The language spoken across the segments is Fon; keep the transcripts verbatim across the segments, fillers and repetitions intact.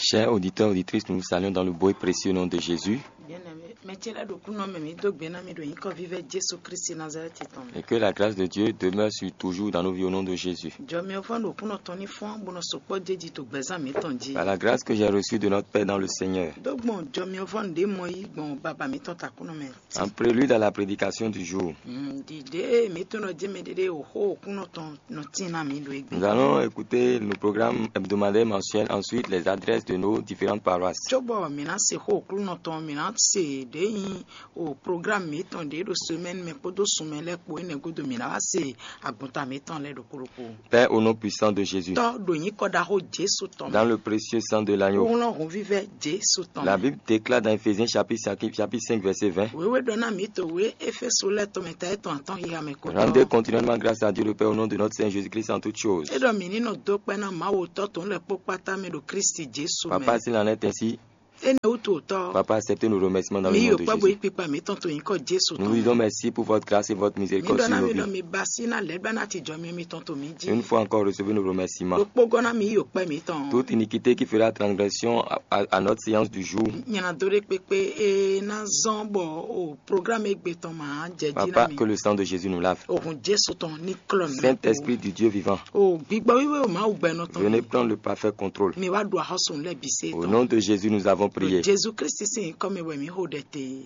Chers auditeurs, auditrices, nous vous saluons dans le beau et précieux nom de Jésus. Bien-aimé, mɛ ce lɛ́ɛ ɖo kúnɔ mɛ mǐ dó gbe ná mi ɖo nyǐkɔ vívɛ́ Jesu Kristi Nazalɛ́ti tɔn mɛ. Et que la grâce de Dieu demeure sur, toujours dans nos vies au nom de Jésus. Jɔmiɔvɔn ɖo kúnɔ tɔn ní fɔ́n bó nɔ sukpɔ́ jéji to gbɛzán mǐtɔn jí. Par la grâce que j'ai reçue de notre Père dans le Seigneur, Dó gbɔn jɔmiɔvɔn ɖě mɔ yí gbɔn baba mǐtɔn takúnɔ mɛ. En prélude à la prédication du jour, Ɖiɖe mǐtɔn nɔ jɛ mɛ ɖeɖe o xó kúnɔ tɔn nɔ tín ná mǐ ɖo égbé. Nous allons écouter nos programmes hebdomadaires mensuels, ensuite les adresses de nos différentes paroisses. Cóbɔ mǐ ná se xó Aklúnɔ tɔn, mǐ ná se ɖě nyí o programme mǐtɔn ɖě ɖo semaine mɛ kpódó sunmɛ lɛ́ɛ kpó énɛ́ gúdo mǐ ná wá se agbɔnta mǐtɔn lɛ́ɛ ɖokpó ɖokpó. Père, au nom puissant de Jésus, Tɔ́ ɖo nyǐkɔ ɖaxó Jesu tɔn mɛ. Dans le précieux sang de l'agneau, Wlɔ́n hǔnvívɛ́ Jesu tɔn la mɛ. Bible déclare dans Éphésiens chapitre cinq, chapitre cinq, verset vingt. Wěwé ɖɔ ná mǐ to wě Éfésu lɛ́ɛ tɔn mɛ ta étɔn atɔ́n xixa mɛ ko. Rendez continuellement grâce à Dieu le Père au nom de notre Seigneur Jésus-Christ en toutes choses. É ɖɔ mǐ ní nɔ dó kpɛ́ ná Mawu Tɔ́ tɔn lɛ́ɛ kpó kpátá mɛ ɖo Kristi Jesu mɛ. Papa, s'il en est ainsi, Énɛ́ wútu o Tɔ́. Papa, acceptez nos remerciements dans le nom de Jésus. Mǐ yi kpɔ́ bo yí kpikpa mǐtɔn to nyǐkɔ Jesu tɔn mɛ. Nous vous disons merci pour votre grâce et votre miséricorde sur nos vies. Mǐ ɖɔ ná mǐ ɖɔ mi ba sí ná lɛ̌ ɖó ná ti jɔ mi mitɔn to mǐ jí. Une fois encore, recevez nos remerciements. Ɖokpógɔ́ ná mi yi o kpɛ́ mǐtɔn. Toute iniquité qui fera transgression à, à, à notre séance du jour. Nyɛ ná dó ɖé kpékpé e ná zɔ́n bɔ o programme égbé tɔn ma jɛ jí ná mi. Papa, que le sang de Jésus nous lave. Ohun Jesu tɔn ní klɔ mi. Saint-Esprit du Dieu vivant, O gbigbɔ wíwé o Mawu gbɛnɔ tɔn. Venez prendre le parfait contrôle. Mi wá ɖu axɔ́sùn lɛ́ɛ bǐ se tɔn. Au nom de Jésus, nous avons prié. Jesu Kristi sín nyǐkɔ mɛ wɛ mǐ xo ɖɛ te.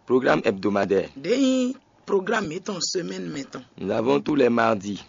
Programme hebdomadaire. Ɖě nyí programme mǐtɔn semaine mɛ tɔn. Nous avons tous les mardis.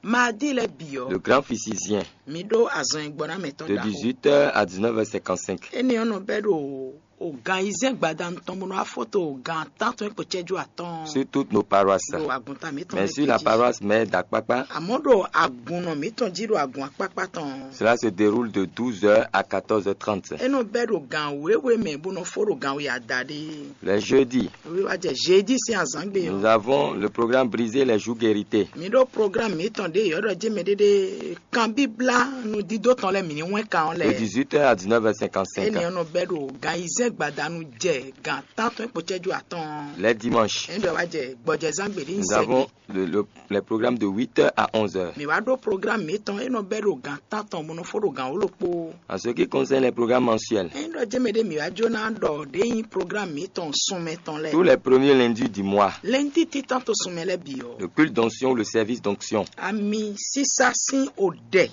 Mardi lɛ́ɛ bǐ ɔ́, Le grand physicien, mi ɖó azɔn e gbɔ ná mɛ tɔn de ɖaxó. Dix-huit heures à dix-neuf heures cinquante-cinq. Énɛ́ ɔ́ nɔ bɛ́ ɖo o gan ayizɛ́n gbadanu tɔn bó nɔ wá fó to gan tántɔn e kpo cɛ́jú atɔ́ɔ́n. Sur toutes nos paroisses. Ɖo agun ta mǐtɔn. Mais sur la paroisse mère d'Akpakpa, Àmọ́ ɖo agun nɔ mǐtɔn jí ɖo agun akpákpá tɔn. Cela se déroule de douze heures à quatorze heures trente. É nɔ bɛ́ ɖo gan wěwe mɛ bó nɔ fó ɖo gan we adaɖé. Les jeudis, Wíwá jɛ jeudi sín azǎngbe ɔ́. Nous avons le programme Briser les joues guéritées. Mi ɖó programme mǐtɔn ɖě yɔ̌ɖɔ jɛ́n mɛ ɖéɖé kan bíblá nudídó tɔn lɛ́ɛ mǐ ní wɛn kan ɔ́ lɛ́ɛ. De dix-huit heures à dix-neuf heures cinquante-cinq. Énɛ́ ɔ́ nɔ bɛ́ ɖo gan ayizɛ́n gbadanu jɛ gan tántɔn kpó cɛ́jú atɔ́ɔ́n. Les dimanches, Énɛ́ ɖɔ wá jɛ gbɔjɛzán gbe ɖé nyí nous avons le, le, les programmes de huit heures à onze heures. Mǐ wá ɖó programme mǐtɔn é nɔ bɛ́ ɖo gan tántɔn bó nɔ fó ɖo gan wǒ ɖokpó. En ce qui concerne les programmes mensuels, Ényí ɖɔ jɛ́n mɛ ɖé mǐ wá jó ná ɖɔ ɖě nyí programme mǐtɔn sunmɛ tɔn lɛ́ɛ. Tous les premiers lundis du mois, Lɛ́ntí títán to sunmɛ lɛ́ɛ bǐ ɔ́. Le culte d'onction ou le service d'onction. Ami sísá sín odɛ.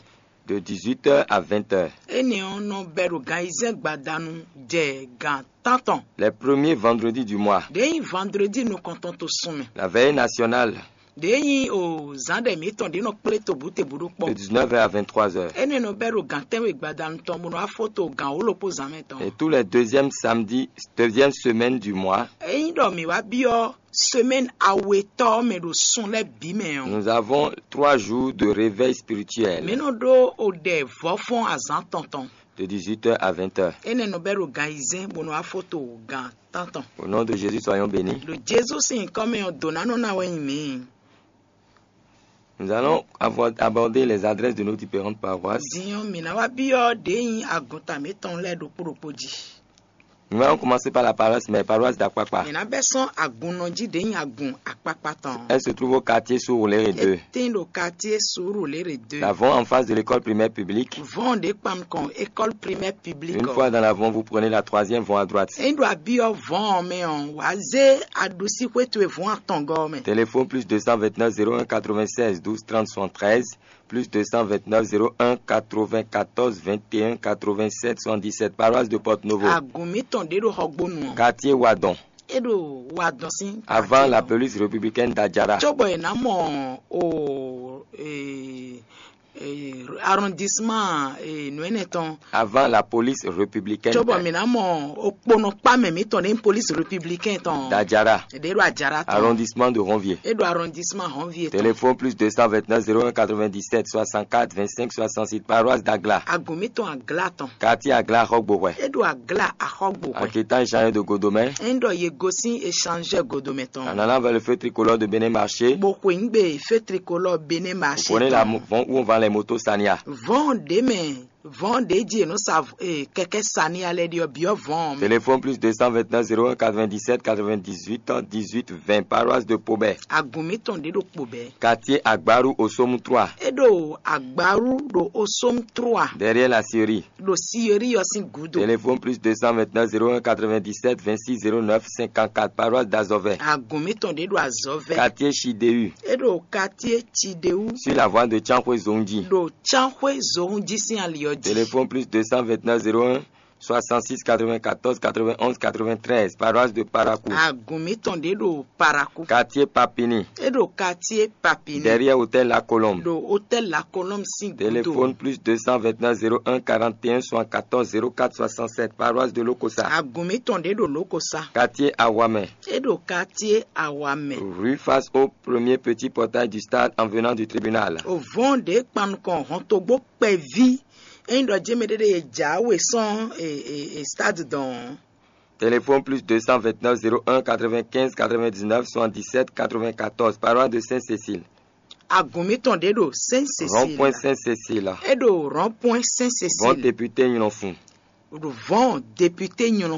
De dix-huit heures à vingt heures. Énɛ́ ɔ́ nɔ bɛ́ ɖo gan ayizɛ́n gbadanu jɛ gan tántɔn. Les premiers vendredis du mois. Ɖěe nyí vendredi nukɔntɔn to sunmɛ. La veillée nationale. Ɖěe nyí o zǎn ɖɛ mǐtɔn ɖě nɔ kplé tobǔtebǔ ɖó kpɔ́. De dix-neuf heures à vingt-trois heures. Énɛ́ nɔ bɛ́ ɖo gan tɛ́nwe gbadanu tɔn bó nɔ wá fó to gan wǒ ɖokpó zǎn mɛ tɔn. Et tous les deuxièmes samedis, deuxième semaine du mois. Ényí ɖɔ mǐ wá byɔ́ semaine awetɔ́ ɔ́ mɛ ɖo sun lɛ́ɛ bǐ mɛ ɔ́. Nous avons trois jours de réveil spirituel. Mǐ nɔ ɖó o ɖɛ vɔ̌fɔ́n azǎn tɔn tɔn. De dix-huit heures à vingt heures. Énɛ́ nɔ bɛ́ ɖo gan ayizɛ́n bó nɔ wá fó to gan tántɔn. Au nom de Jésus, soyons bénis. Ɖo Jezu sín nyǐkɔ mɛ ɔ́, dǒ ná nɔ ná wɛ nyí mǐ. Nous allons avoir, aborder les adresses de nos différentes paroisses. Din ɔ́, mǐ ná wá byɔ́ ɖě nyí agunta mǐtɔn lɛ́ɛ ɖokpó ɖokpó jí. Nous allons commencer par la paroisse, mais paroisse d'Akpakpa. Mǐ ná bɛ́ sɔ́n agunnɔ jí ɖě nyí agun akpákpá tɔn. Elle se trouve au quartier Sourouléré deux. É tín ɖo quartier Sourouléré deux. La Von, en face de l'école primaire publique. Von ɖě kpan nukɔn école primaire publique. Une fois dans la Von, vous prenez la troisième Von à droite. Ényí ɖo abyɔ́ Von ɔ́ mɛ ɔ́, wǎ zé aɖusíxwé towe Von atɔngɔ́ ɔ́ mɛ. Téléphone plus deux cent vingt-neuf zéro un quatre-vingt-seize douze trente soixante-treize, plus deux cent vingt-neuf zéro un quatre-vingt-quatorze vingt et un quatre-vingt-sept soixante-dix-sept, paroisse de Porto Novo. Agun mǐtɔn ɖě ɖo Xɔgbónu ɔ́. Quartier Wadon. É ɖo Wadon sín. Avant la police républicaine d'Adjara. Cóbɔ è nǎ mɔ o e, e, arrondissement e, nǔ énɛ́ tɔn. Avant la police républicaine. Cóbɔ mǐ ná mɔ okponɔkpá mɛ mǐtɔn ɖě nyí police républicaine tɔn. D'Adjara. Ɖě ɖo Adjara tɔn. Arrondissement de Ronvier. É ɖo arrondissement Ronvier tɔn. Téléphone plus deux cent vingt-neuf zéro un quatre-vingt-dix-sept soixante-quatre vingt-cinq soixante-six, paroisse d'Agla. Agun mǐtɔn Agla tɔn. Quartier Agla Axɔgbohwɛ. É ɖo Agla Axɔgbohwɛ. En quittant Jean de Godomɛ. Ényí ɖɔ yě gosín échangeur Godomɛ tɔn. En allant vers le feu tricolore de Bénin Marché. Bó xweyǐgbe feu tricolore Bénin Marché tɔn. Vous prenez la mo-, Von où on vend les motos Sania. Von ɖě mɛ Vɔ̌n ɖě jí è nɔ sa v- eh, kɛkɛ́ sani alɛ ɖi ɔ́ byɔ́ vɔ̌n ɔ́ mɛ. Téléphone plus deux cent vingt-neuf zéro un quatre-vingt-dix-sept quatre-vingt-dix-huit dix-huit vingt, paroisse de Pobé. Agun mǐtɔn ɖě ɖo kpo bɛɛ. Quartier Agbaru au Somme trois. É ɖo Agbaru ɖo Osom trois. Derrière la Syrie. Ɖo Siyori ɔ́ sín gǔdo. Téléphone plus deux cent vingt-neuf zéro un quatre-vingt-dix-sept vingt-six zéro neuf cinquante-quatre, paroisse d'Azovais. Agun mǐtɔn ɖě ɖo Azɔvɛ. Quartier Chidéhu. É ɖo quartier Chidéhu. Sur la voie de Chankwé Zonji. Ɖo Tsanxwé Zohun jí sín ali ɔ́ jí. Téléphone plus deux cent vingt-neuf zéro un soixante-six quatre-vingt-quatorze quatre-vingt-onze quatre-vingt-treize, paroisse de Parakou. Agun mǐtɔn ɖě ɖo Parakou. Quartier Papini. É ɖo quartier Papini. Derrière hôtel La Colombe. Ɖo hôtel La Colombe sín gǔdo. Téléphone plus deux cent vingt-neuf zéro un quarante et un soixante-quatorze zéro quatre soixante-sept, paroisse de Lokossa. Agun mǐtɔn ɖě ɖo Lokossa. Quartier Awamé. É ɖo quartier Awamé. Rue face au premier petit portail du stade en venant du tribunal. Ovɔn ɖě kpan nukɔn hɔntogbó kpɛví. Ényí ɖɔ jɛ́n mɛ ɖé ɖe e jǎwe sɔ́n e, e, e stade dɔn. Téléphone plus deux cent vingt-neuf zéro un quatre-vingt-quinze quatre-vingt-dix-neuf soixante-dix-sept quatre-vingt-quatorze, paroisse de Sainte-Cécile. Agun mǐtɔn ɖě ɖo Saint Rond-point Cécile. Sainte-Cécile. É ɖo rond-point Saint Vɔn Cécile. Député Nylɔnfun. Ɖo vɔn député Nylɔnfun.